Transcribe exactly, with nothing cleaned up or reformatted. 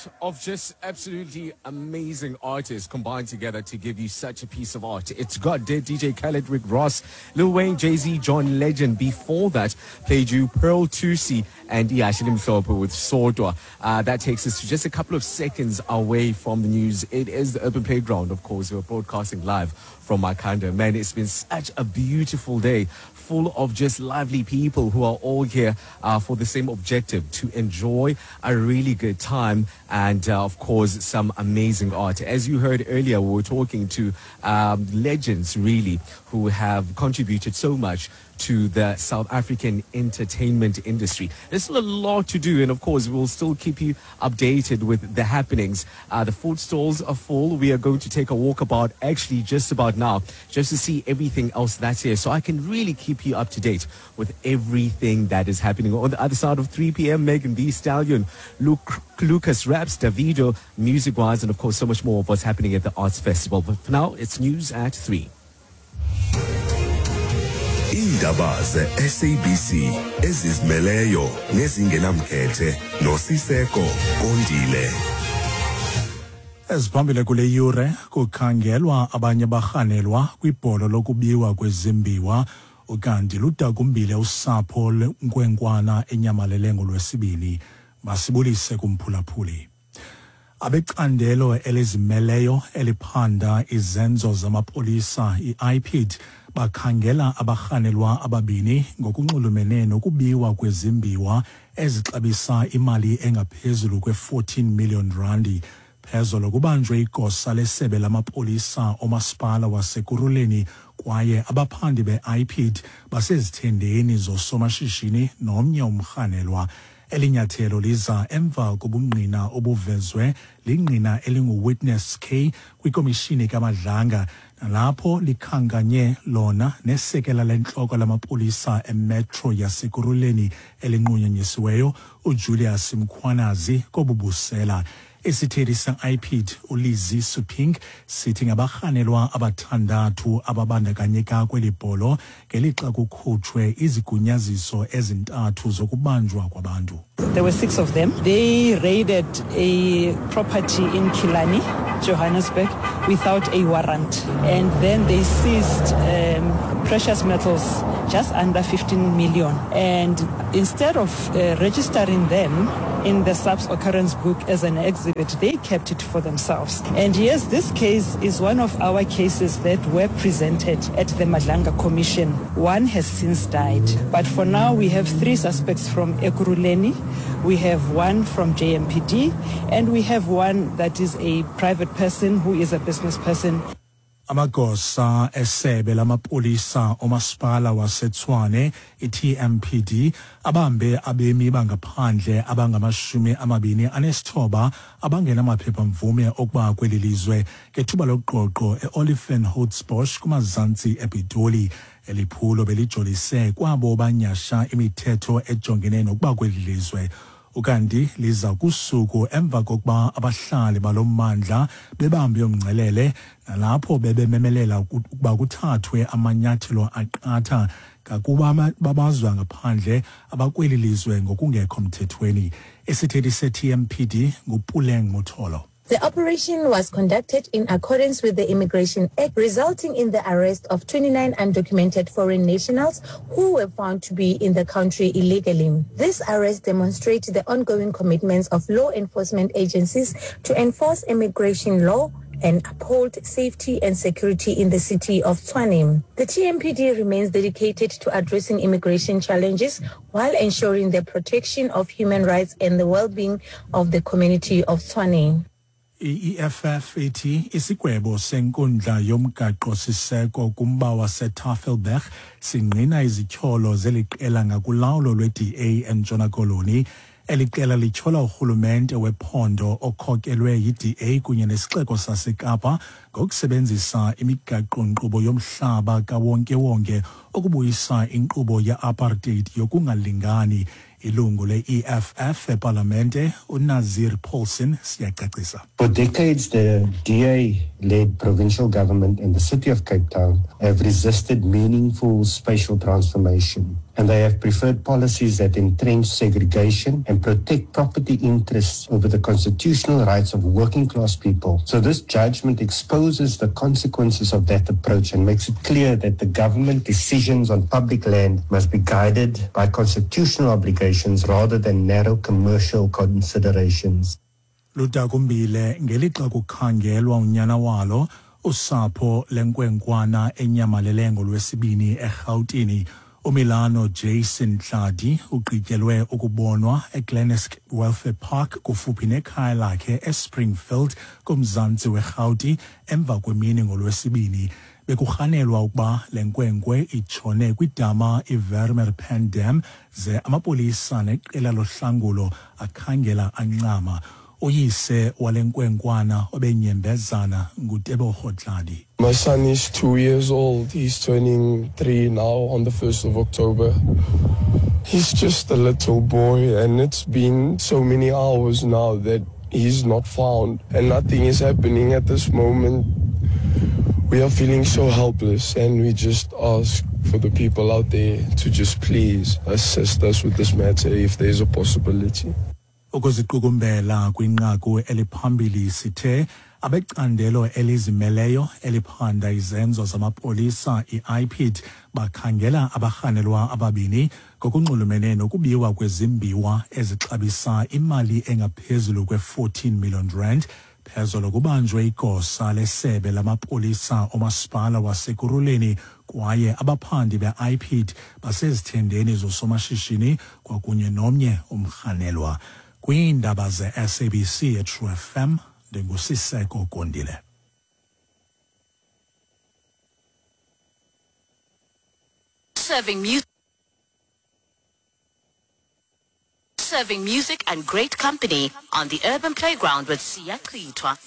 lot of just absolutely amazing artists combined together to give you such a piece of art. It's got dead D J Khaled, Rick Ross, Lil Wayne, Jay-Z, John Legend. Before that, played you Pearl Thusi and Ihashe Elimhlophe with Sodwa. Uh, that takes us to just a couple of seconds away from the news. It is the Urban Playground, of course. We're broadcasting live from Makhanda. Man, it's been such a beautiful day, full of just lively people who are all here uh, for the same objective, to enjoy a really good time and, uh, of course, some amazing art. As you heard earlier, we were talking to um, legends, really, who have contributed so much to the South African entertainment industry. There's still a lot to do, and of course, we'll still keep you updated with the happenings. Uh, the food stalls are full. We are going to take a walkabout actually just about now, just to see everything else that's here, so I can really keep you up to date with everything that is happening. On the other side of three p m, Megan Thee Stallion, Luke, Lucas Raps, Davido, music-wise, and of course, so much more of what's happening at the Arts Festival. But for now, it's news at three. Iindaba ze-S A B C ezizimeleyo nezingenamkhethe noSiseko Kondile. Eziphambili kule yure kukhangelwa abanye barhanelwa kwibholo lokubiwa kwezimbiwa, ukanti ludakumbile usapho lwenkwenkwana enyamalele ngolwesibini. Masibulise kumphulaphuli. Abecandelo elizimeleyo eliphanda izenzo zamapolisa i-I P D bakhangela abarhanelwa ababini ngokunxulumene nokubiwa kwezimbiwa ezixabisa imali engaphezulu kwe-fourteen million randi. Phezolo kubanjwe igosa lesebe lamapolisa omasipala waseKurhuleni kwaye abaphandi be-I P D basezithendeni zosomashishini nomnye umrhanelwa. Elinyathelo liza emva kobungqina obuvezwe lingqina elingu-Witness K kwikomishini kaMadlanga, nalapho likhankanye lona nesekela lentloko lamapolisa emetro yaseKurhuleni elinqunyanyisiweyo uJulius Mkhwanazi kobubusela. Isithethi se-I P D uLizzie Suping sithi ngabarhanelwa abathandathu ababandakanyeka kweli bholo ngelixa kukhutshwe izigunyaziso ezintathu zokubanjwa kwabantu. There were six of them. They raided a property in Killarney, Johannesburg, without a warrant. And then they seized, um, precious metals just under fifteen million. And instead of, uh, registering them in the SAPS occurrence book as an exhibit, they kept it for themselves. And yes, this case is one of our cases that were presented at the Madlanga Commission. One has since died. But for now, we have three suspects from Ekurhuleni, we have one from J M P D, and we have one that is a private person who is a business person. Amagosa esebe lamapolisa omasipala waseTshwane i-T M P D abambe abemi bangaphandle abangamashumi amabini anesithoba abangenamaphepha-mvume okuba kweli lizwe ngethuba loqoqo e-Oliphanttsbosch kumazantsi ePitoli. Eliphulo belijolise kwabo banyasha imithetho ejongene nokuba kweli lizwe. Ukanti liza kusuku emva kokuba abahlali balommandla bebambe umngcelele nalapho bebememelela ukuba kuthathwe amanyathelo aqatha ngakuba babazwa ngaphandle abakweli lizwe ngokungekho mthethweni. Isithethi se-T M P D nguPuleng Motholo. The operation was conducted in accordance with the Immigration Act, resulting in the arrest of twenty-nine undocumented foreign nationals who were found to be in the country illegally. This arrest demonstrates the ongoing commitments of law enforcement agencies to enforce immigration law and uphold safety and security in the city of Tshwane. The T M P D remains dedicated to addressing immigration challenges while ensuring the protection of human rights and the well-being of the community of Tshwane. I-E F F ithi isigwebo senkundla yomgaqo-siseko kumba waseTafelberg singqina izityholo zeliqela ngakulawulo lwe-D A eNtshona Koloni. Eli qela lityhola urhulumente wephondo okhokelwe yi-D A kunye nesixeko saseKapa ngokusebenzisa imigaqo-nkqubo yomhlaba kawonkewonke ukubuyisa inkqubo ye-apartheid yokungalingani. Ilungu le-E F F epalamente uNazier Paulsen siyacacisa. For decades, the D A-led provincial government and the city of Cape Town have resisted meaningful spatial transformation, and they have preferred policies that entrench segregation and protect property interests over the constitutional rights of working class people. So this judgment exposes the consequences of that approach and makes it clear that the government decisions on public land must be guided by constitutional obligations rather than narrow commercial considerations. Ludakumbile ngelixa kukhangelwa unyana walo usapho lenkwenkwana enyamalele ngolwesibini eRhawutini. uMilano Jason Tladi ugqityelwe ukubonwa eGlenesk Welfare Park kufuphi nekhaya lakhe eSpringfield kumzantsi weRhawuti emva kwemini ngolwesibini. Bekurhanelwa ukuba le nkwenkwe itshone kwidama iVermeer Pan Dam, ze amapolisa neqela lohlangulo akhangela ancama. Uyise wale nkwenkwana obenyembezana nguTebogo Tladi. My son is two years old. He's turning three now on the first of October. He's just a little boy, and it's been so many hours now that he's not found, and nothing is happening at this moment. We are feeling so helpless, and we just ask for the people out there to just please assist us with this matter if there's a possibility. Ukuziqukumbela kwinqaku eliphambili, sithe abecandelo elizimeleyo eliphanda izenzo zamapolisa i-I P I D bakhangela abarhanelwa ababini ngokunxulumene nokubiwa kwezimbiwa ezixabisa imali engaphezulu kwe-fourteen million rand. Phezolo kubanjwe igosa lesebe lamapolisa omasipala waseKurhuleni, kwaye abaphandi be-I P I D basezithendeni zosomashishini kwakunye nomnye umrhanelwa. Kwiindaba ze-S A B C eTrue F M, ndinguSiseko Kondile. Serving music. Serving music and great company on the Urban Playground with Siya Klitwa.